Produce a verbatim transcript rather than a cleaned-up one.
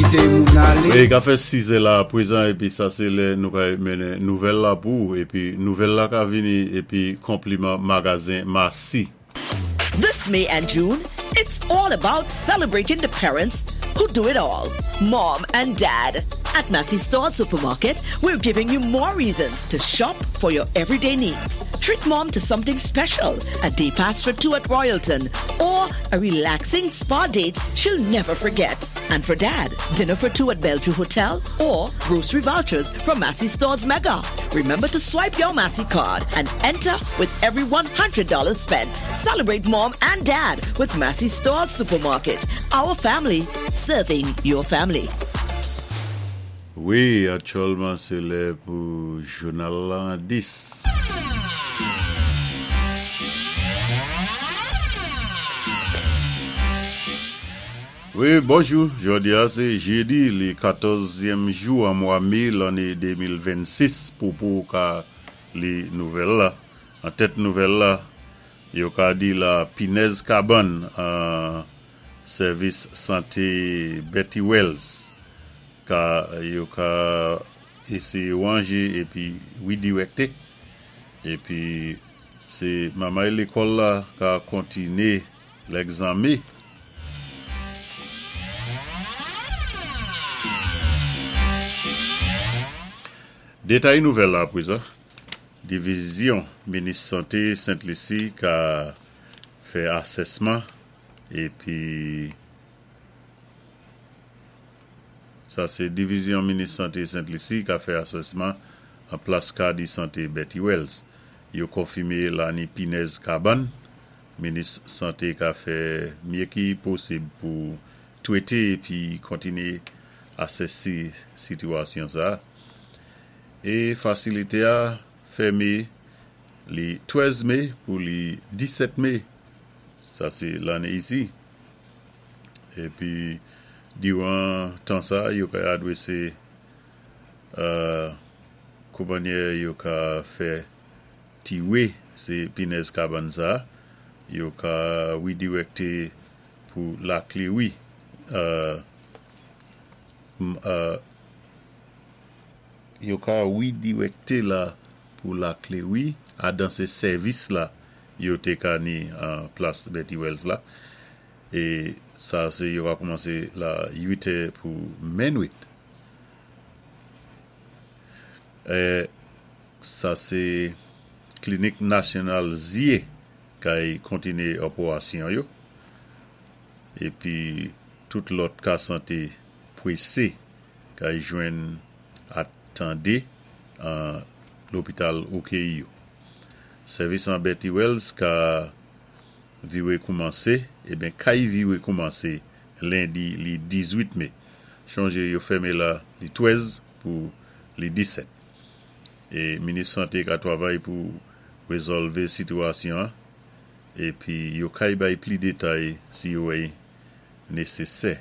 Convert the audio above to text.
Kité moun alé. Wi, ka fè sis la pwézan épi sa sé lè nou ka mennen nouvèl la pou épi nouvèl la ka vini épi konpliman magazen Massy. This May and June, it's all about celebrating the parents who do it all. Mom and Dad. At Massy Store Supermarket, we're giving you more reasons to shop for your everyday needs. Treat mom to something special, a day pass for two at Royalton, or a relaxing spa date she'll never forget. And for dad, dinner for two at Bellevue Hotel or grocery vouchers from Massy Stores Mega. Remember to swipe your Massy card and enter with every one hundred dollars spent. Celebrate mom and dad with Massy Stores Supermarket. Our family serving your family. Wi, aktyèlman sé lè pou jounal la dis. Wi, bonjou. Jòdi a sé jédi, li katòzyèm jou an mwa mé lanné de mil vennsis pou pou ka li nouvèl la. An tèt nouvèl la, yo ka di la pinèz kabann an sèvis santé Betty Wells ka yo ka éséyé wanjé épi redirecté épi sé mamay lékòl la ka kontiné lègzanmé. Détay nouvèl la pwézan. Divizyon Minis Santé Sent Lisi ka fè asèsman épi sa sé Divizyon Minis Santé Sent Lisi ka fè asèsman an plas kadi santé Betty Wells. Yo konfimé la ni pinèz kabann. Minis Santé ka fè mye ki posib pou twété épi kontiné asèsi sitiyasyon sa. É fasilité a fèmé li trèz mé pou li disèt mé. Sa sé lanné isi. Épi diwan tan sa yo ka adwésé euh, koumannyè yo ka fè tiwé sé pinèz kabann sa yo ka redirecté pou Laklewi euh, euh, yo ka redirecté la pou Laklewi adan sé sèvis la yo té ka ni an plas Betty Wells la é sa sé yo va koumansé la uit è pou minwit. É, sa sé Klinik Nasyonal Zyé kay kontiné opérasyon yo épi tout lòt ka santé pwésé kay jwenn atandé an lopital O K I yo. Sèvis an Betty Wells ka viwé koumansé, eben kay viwé koumansé lendi li dizuit mé. Chonjé yo fèmé la li trèz pou li disèt. É Minis Santé ka twavay pou rézòlvé sitiyasyon épi yo kay bay pli détay si yo wè nésésè.